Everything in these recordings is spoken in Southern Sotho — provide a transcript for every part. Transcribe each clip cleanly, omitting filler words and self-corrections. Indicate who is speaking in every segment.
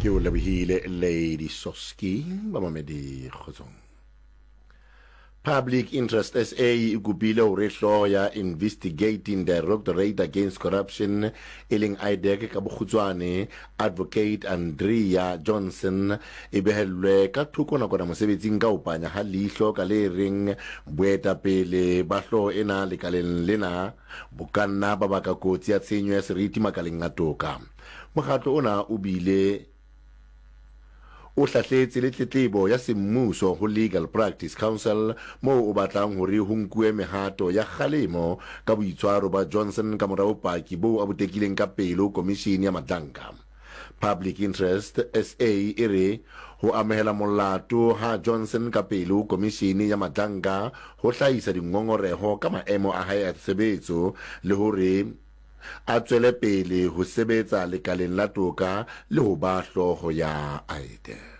Speaker 1: Ke o lebohile Lady Soski bamamedi kgotsong. Public Interest SA e kopile hore hlooho ya Investigating Directorate Against Corruption e leng IDAC ka bokgutswane Advocate Andrea Johnson e behellwe ka thoko nakwana mosebetsing ka ho panya ha leihlo ka le reng boetapele ba hlooho ena lekaleng lena bo ka nna ba baka kotsi ya tshenyo ya seriti makaleng a toka. Mokgatlo ona o bile o hlahletse le tletlebo ya semmuso ho Legal Practice Council moo o batlang hore ho nkuwe mehato ya kgalemo ka boitshwaro ba Johnson ka mora bopaki boo a bo tekileng ka pele ho komishini ya Madlanka. Public Interest SA e re ho amohela molato ha Johnson ka pele ho komishini ya Madlanka ho hlahisa dingongoreho ka maemo a hae a tshebetso le hore a tswele pele ho sebetsa lekaleng la toka le ho ba hlooho ya IDAC.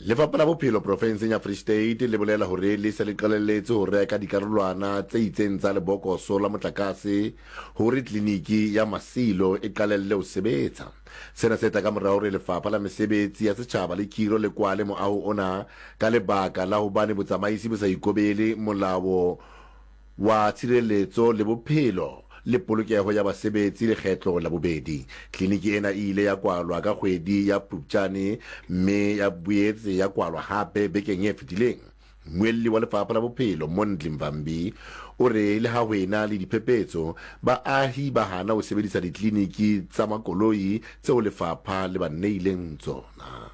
Speaker 1: Lefapha la Bophelo profenseng ya Free State le bolela hore le se le qalelletse ho reka dikarolwana tse itseng tsa lebokoso la motlakase hore tleliniki ya Masilo e qalelle ho sebetsa. Sena se tla ka mora hore Lefapha la Mesebetsi ya Setjhaba le Khiro le kwale moaho ona ka lebaka la hobane botsamaisi bo sa ikobele molao wa tshireletso le bophelo le polokeho ya basebetsi lekgetlo la bobedi. Tleliniki ena e ile ya kwalwa ka kgwedi ya Phupjane mme ya boetse ya kwalwa hape bekeng e fetileng. Mmuelli wa Lefapha la Bophelo, Mondli Mvambi, o re le ha ho ena le diphephetso, baahi ba hana ho sebedisa ditleliniki tsa makoloi tseo lefapha le ba neileng tsona.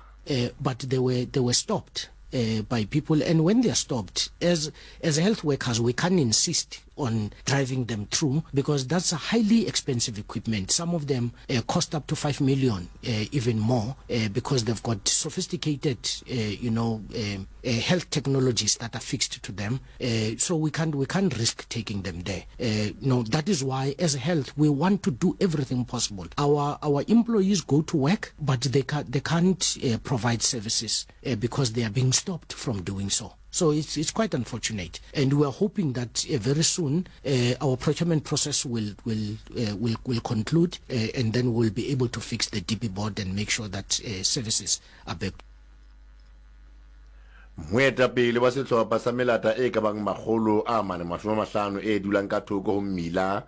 Speaker 2: But they were, they were stopped by people, and when they are stopped, as, as health workers, we can't insist on driving them through because that's a highly expensive equipment. Some of them uh, cost up to 5 million, uh, even more, uh, because they've got sophisticated, uh, you know, uh, uh, health technologies that are fixed to them. Uh, so we can't, we can't risk taking them there. Uh, no, that is why as health, we want to do everything possible. Our, our employees go to work, but they, ca they can't uh, provide services uh, because they are being stopped from doing so. So it's, it's quite unfortunate. And we are hoping that uh, very soon uh, our procurement process will, will, uh, will, will conclude uh, and then we'll be able to fix the DP board and make sure that uh, services are back.
Speaker 1: Moetapele wa sehlopha sa melata e ka bang makgolo a mane mashome a mahlano e dulang ka thoko ho mmila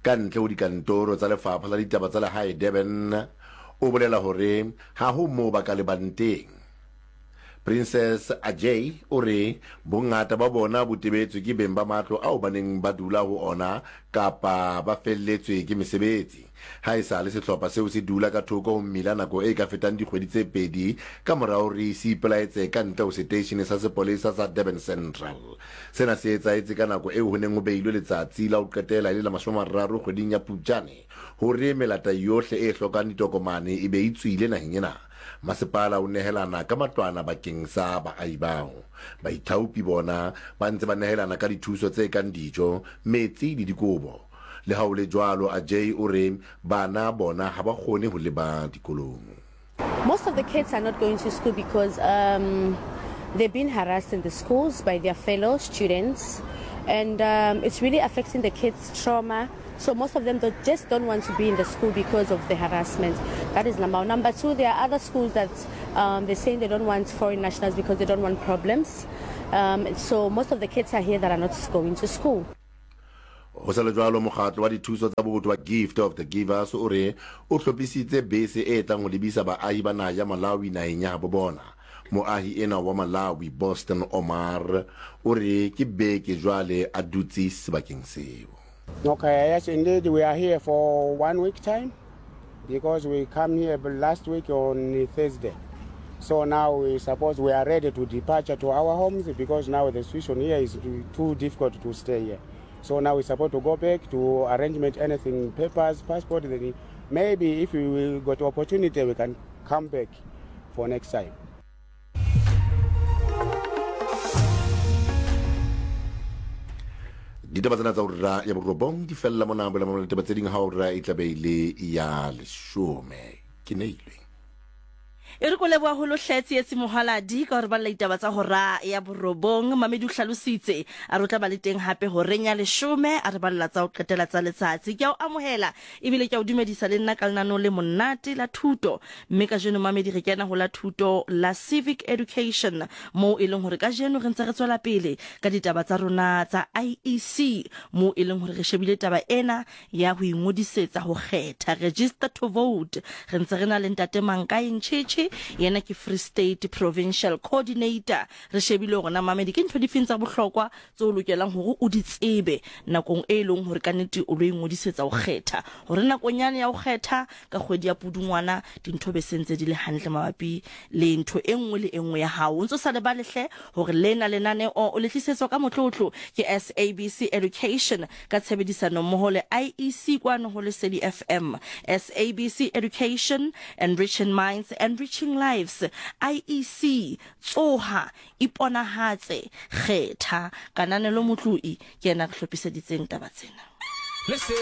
Speaker 1: ka ntle ho dikantoro tsa lefapha la ditaba tsa lehae Durban o bolela hore ha ho moo ba ka lebang teng. Princess Ajay o re bongata ba bona bo tebetswe ke beng ba matlo ao ba neng ba dula ho ona kapa ba felletswe ke mesebetsi. Haesale sehlopha seo se dula ka thoko ho mmila nako e ka fetang dikgwedi tse pedi ka mora hore se ipelaetse ka ntle ho seteishene sa sepolesa sa Durban Central. Sena se etsahetse ka nako eo ho neng ho beilwe letsatsi la ho qetela e le la 30 kgweding ya Phupjane hore melata yohle e hlokang ditokomane e be e tswile naheng ena. Masepala o nehelana ka matlwana bakeng sa baahi bao. Baithaopi bona ba ntse ba nehelana ka dithuso tse kang dijo, metsi le dikobo. Le ha ho le jwalo, Ajay o re bana bona ha ba kgone ho leba dikolong.
Speaker 3: Most of the kids are not going to school because um, they've been harassed in the schools by their fellow students and um, it's really affecting the kids' trauma. So most of them don't, just don't want to be in the school because of the harassment. That is number one. Number two, there are other schools that um, they're saying they don't want foreign nationals because they don't want problems. Um, so most of the kids are here that are not going to school.
Speaker 1: Ho sa le jwalo, mokgatlo wa dithuso tsa botho wa Gift of the Givers o re o hlophisitse bese e tlang ho lebisa baahi ba naha ya Malawi naheng ya habo bona. Moahi enwa wa Malawi, Boston Omar, o re ke beke jwale a dutse sebakeng seo.
Speaker 4: Okay, yes, indeed, we are here for one week time because we come here last week on Thursday. So now we suppose we are ready to departure to our homes because now the situation here is too difficult to stay here. So now we supposed to go back to arrangement anything, papers, passport, then maybe if we will got opportunity we can come back for next time.
Speaker 1: Ditaba tsena tsa ura ya borobong di fella mona boela mona ditaba tse ding ha ura e tla be e le ya leshome. Ke neilwe.
Speaker 5: E re ko leboha holo hle Tsietsi Mohaladi ka hore balla ditaba tsa hora ya borobong. Mamedi o hlalositse a re o tla ba le teng hape horeng ya leshome a re balla tsa ho qetela tsa letsatsi. Ke a o amohela ebile ke a o dumedisa le nna ka lenaneo le monate la thuto. Mme kajeno mamedi re kena ho la thuto la Civic Education moo e leng hore kajeno re ntse re tswela pele ka ditaba tsa rona tsa IEC moo e leng hore re shebile taba ena ya ho ingodisetsa ho kgetha, register to vote. Re ntse re na le Ntate Mankae Ncheche, yena ke Free State Provincial Coordinator. Re shebile hore na mamedi ke ntho difeng tsa bohlokwa tse o lokelang hore o di tsebe nakong e leng hore ka nnete o lo ingodisetsa ho kgetha, hore nakong yane ya ho kgetha ka kgwedi ya Pudungwana dintho be se ntse di le hantle mabapi le ntho e nngwe le e nngwe ya hao. O ntse o sa lebale hle hore lena lenaneo o le tlisetswa ka motlotlo ke SABC Education ka tshebedisano mmoho le IEC kwano ho Lesedi FM. SABC Education, enriching minds, enriching lives. IEC, tsoha, iponahatse, kgetha. Kananelo Motloi ke yena a re hlophiseditseng taba tsena.